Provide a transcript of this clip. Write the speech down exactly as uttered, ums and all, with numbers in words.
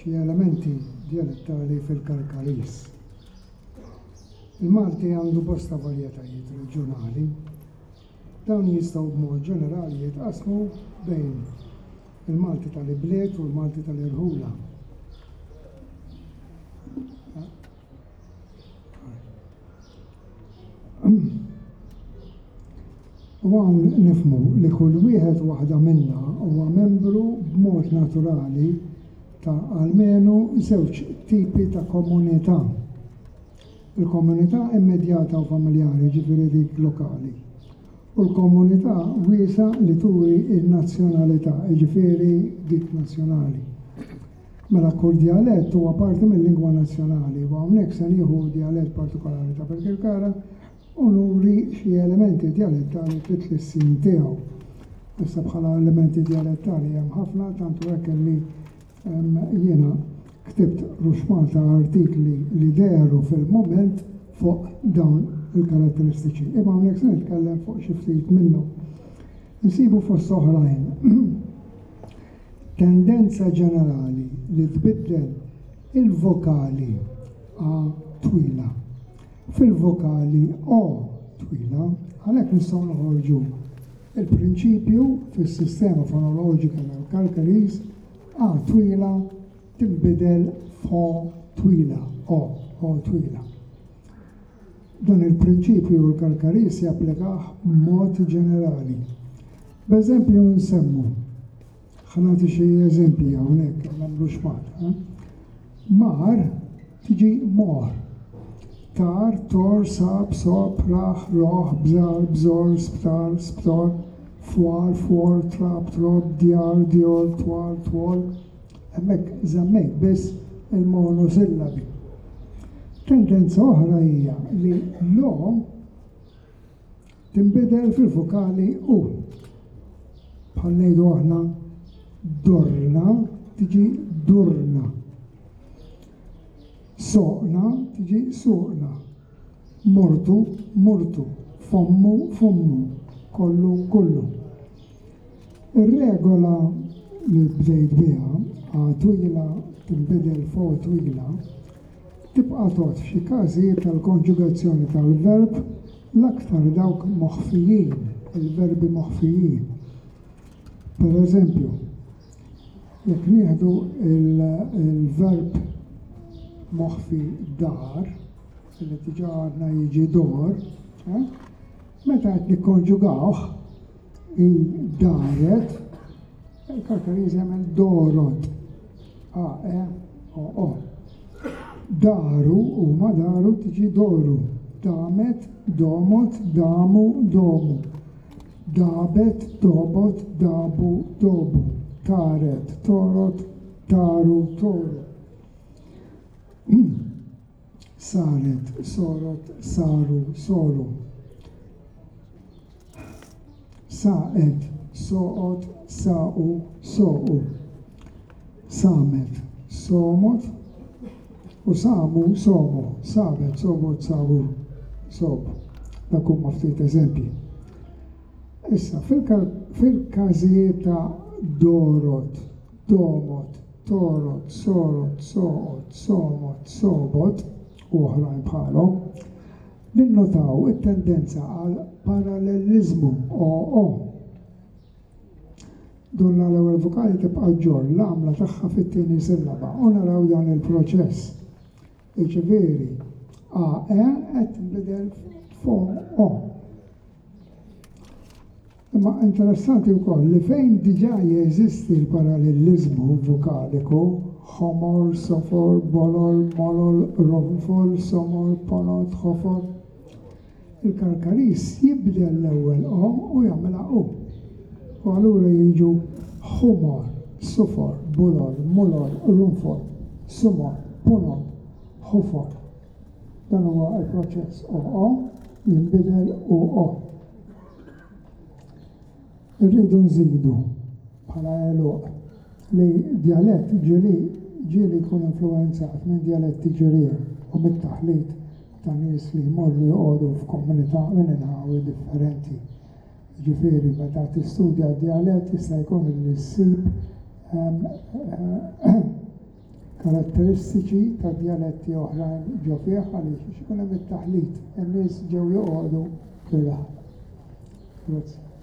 xi elementi djalettali fil-Karkariż. Il-Malti għandu bosta varjetajiet reġjonali. Dawn jistgħu b'mod ġenerali jitqasmu bejn il-Malti tal-ibliet u l-Malti tal-irħula. U hawn nifhmu li kull wieħed u waħda minna huwa membru b'mod naturali ta' almenu żewġ tipi ta' komunità. Il-komunità immedjata u familjari, jiġifieri dik lokali, u l-komunità wiesgħa li turi n-nazzjonalità, jiġifieri dik nazzjonali. Mela kull djalett huwa parti mil-lingwa nazzjonali u hawnhekk se nieħu djalett partikolari ta' Birkirkara u nuri xi elementi djalettali fit-tlissin tiegħu. Issa bħala elementi djalettali hemm ħafna, tant hu hekk li jiena ktibt ruxmata artikli li dehru fil-mument fuq dawn il-karatteristiċi. Imma hawnhekk se nitkellem fuq xi ftit minnhom. Insibu fost oħrajn tendenza ġenerali li tbiddel il-vokali a twila fil-vokali o twila, għalhekk nistgħu noħorġu il-prinċipju fis-sistema fonoloġika tal-Karkariż a twila tinbidel f'o twila, o, o twila. Dan il-prinċipju l-Karkariż japplikah b'mod ġenerali. B'eżempju nsemmu, ħa nagħti xi eżempji hawnhekk nagħmlu xmat. Mar tiġi mor. Tar, tor, sab, sob, raħ, roħ, bżar, bżor, sptar, sptor, fwar, fwor, trab, trob, djar, djor, twal, twol. Hemmhekk żammejt biss il-monosillabi. Tendenza oħra hija li lo tinbidel fil-vokali u. Bħal ngħidu aħna dorna tiġi durna. Soqna tiġi suqna. Mortu, murtu. Fommu, fummu. Kollu, kullu. Ir-regola li bdejt biha, a twila tinbidel f'o twila, tibqa' tgħodd f'xi każijiet tal-konġugazzjoni tal-verb, l-aktar dawk moħfijin, il-verbi moħfijin. Per eżempju, jekk nieħdu il-verb moħfi dar, li diġà għadna jiġi dor, eh, meta qed nikkonġugawh i daret, il-Karkariż jagħmel dorot, a e o o. Daru huma daru tiġi doru, damet, domot, damu, domu. Dabet, dobot, dabu, dobu. Taret, torot, taru, toru. Saret, sorot, saru, soru. Saqet, soqot, saqu, soqu. Samet, somot, u samu, somu. Sabet, sobot, sabu, sob. Dak huma ftit eżempji. Issa, fil-każijiet ta' dorot, domot, torot, sorot, soqot, somot, sobot, u oħrajn bħalhom, ninnotaw it-tendenza għal paralleliżmu o o. Donna l-ewwel vokali tibqa' ġġorr l-għamla tagħha fit-tieni sillaba u naraw dan il-proċess. Jiġifieri, a e qed tinbidel f'o o. Imma interessanti wkoll li fejn diġà jeżisti l-paralleliżmu vokaliku, ħomor, sofor, bolol, molol, ronfol, somor, ponot, ħofor, il-Karkariż jibdel l-ewwel o u jagħmilha u. U allura jiġu ħumor, sufor, bulol, mulol, runfol, sumor, punot, ħufor. Dan huwa l-proċess o o jinbidel u o. Irridu nżidu bħala għeluq li djalett ġieli ġieli jkun influwenzat minn djaletti ġirien u mit-taħlit ta' nies li jmorru joqogħdu f'komunità minn inħawi differenti. Jiġifieri meta tistudja d-djalett jista' jkun li ssib Karatteristiċi ta' djaletti oħrajn ġo fih, għaliex ikun hemm it-taħlit, in-nies ġew joqogħdu fir-raħal. Grazzi.